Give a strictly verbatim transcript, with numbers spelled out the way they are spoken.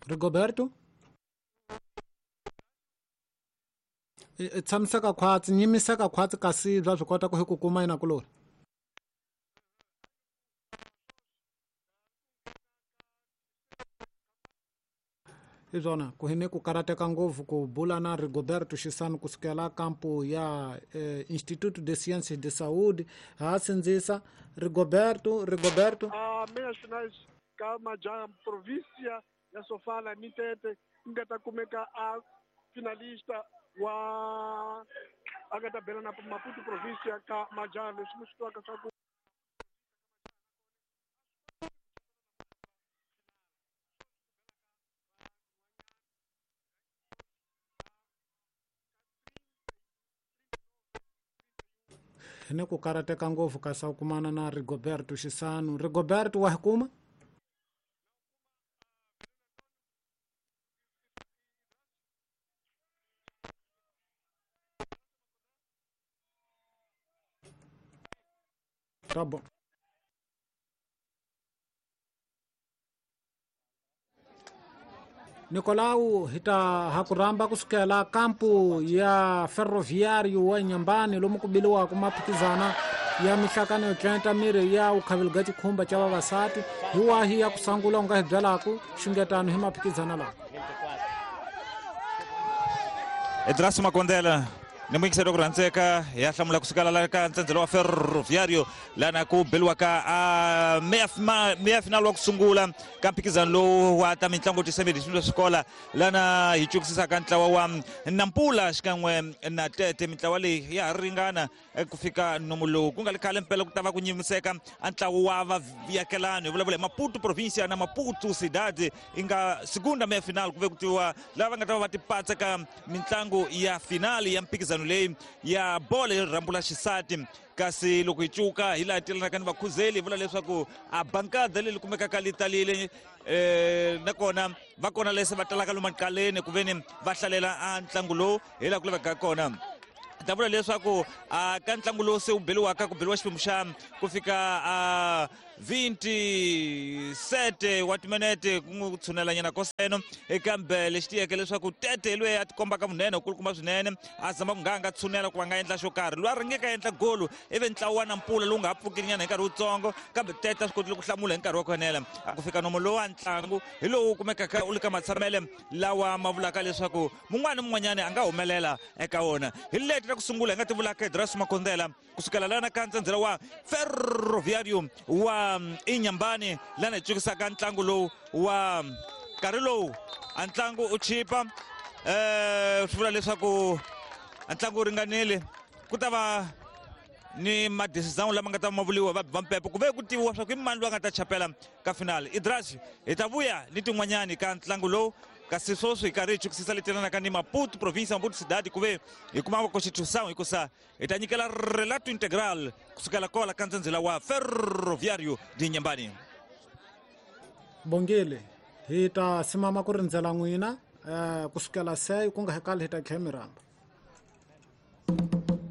Rigoberto i tshamiseka khwatsi nyimiseka khwatsi kasi bya swi kota ku hi ku kuma yina kulori hi swona ku hi ni ku karateka ngopfu ku bula na Rigoberto Xisano kusukela kampo ya eh, Instituto de Ciências de Saúde ha sindzisa Rigoberto Rigoberto a meias finais ka majaha província ya Sofala ni Tete nga ta kumeka a finalista wa a nga ta bela na Maputo província ka majaha leswi mi swi twaka swa ku ni ku karateka ngopfu ka sa kumana na Rigoberto Xisano. Rigoberto wa hi kuma tá bom. Nicolau hi ta ha ku rhamba kusukela kampu ya Ferroviário wa Inhambane lomu ku biliwaka maphikizana ya mihlakano yo tlenta miri ya vukhavelo bya tikhumba ca vavasati hi wahi ya ku sangula u nga hi byelaku xungetano hi maphikizana lawa. Edraso Makondela ni muyingiseri wa ku rhandzeka ya hlamula kusukela la ka ntsendzelo wa Ferroviário lana ku beliwaka a meya final wa ku sungula ka mphikizano lowu wa ta mitlangu tisemedi swa swikola lana hi cukisisaka ntlawa wa Nampula xikan'we na Tete. Mintlawa leyi ya ha ringana ku fika nomu lowu ku nga li khale mpela ku ta va ku nyimiseka a ntlawa wa vayakelani hi vulavula hi Maputo provincia na Maputo Cidade i nga segunda meya final ku ve ku tiviwa lava va nga ta va va tipatsa ka mitlangu ya finali ya mphikizano leyi ya bolo yo rhambula xisati. Kasi loko hi cuka hi laha telanaka ni vakhuzeli hi vula leswaku a bankada leyi kumekaka li talile um nakona va kona lese va talaka lomu maqaleni ku veni va hlalela a ntlangu lowu hi laha ku lavekaka kona. Ta vula leswaku a ka ntlangu lowu se wu beliwaka ku beliwa xiphemu xa ku fika a vinti-sete wa timinete ku n'wi tshunelanyana koseno kambe lexi tiyeke leswaku Tete hi loyi a tikombaka munene kulukumba swinene a zama ku nga a nga tshunela ku va nga endla xo karhi loyi a ringeka endla golu ivi ntlawa wa Nampula lowu nga ha pfukelinyana hi nkarhi wutsongo kambe Tete a swi kotile ku hlamula hi nkarhi wa ku enela. Ku fika nomo lowu wa ntlangu hi lowu kumekaka u le ka matshamele lawa ma vulaka leswaku mun'wana ni mun'wanyana a nga humelela eka wona. Hi leti ra ku sungula hi nga ti vulaka Edraso Makondela kusukela lana ka ntsendzela wa Ferroviário wa Inhambane lana hi tsukisaka ntlangu lowu wa nkarhi lowu a ntlangu u chipa um swi vula leswaku a ntlangu wu ringanile ku ta va ni madecision lama nga ta ma vuliwa va va mpepo ku ve ku tiviwa swa ku i mani loyi a nga ta chapela ka finali. Idras hi ta vuya ni tin'wanyani ka ntlangu lowu kasi sweswi hi karhi hi chukisisa leti yelanaka ni Maputo province Maputo Cidade ku ve hi kuma constitution hikusa hi ta nyikela relato integral kusukela kola ka ntsendzela wa Ferroviário de Inhambane. Bongile hi ta simama ku rindzela n'wina um kusukela se ku nga hi kali hi ta tlhela mi rhamba.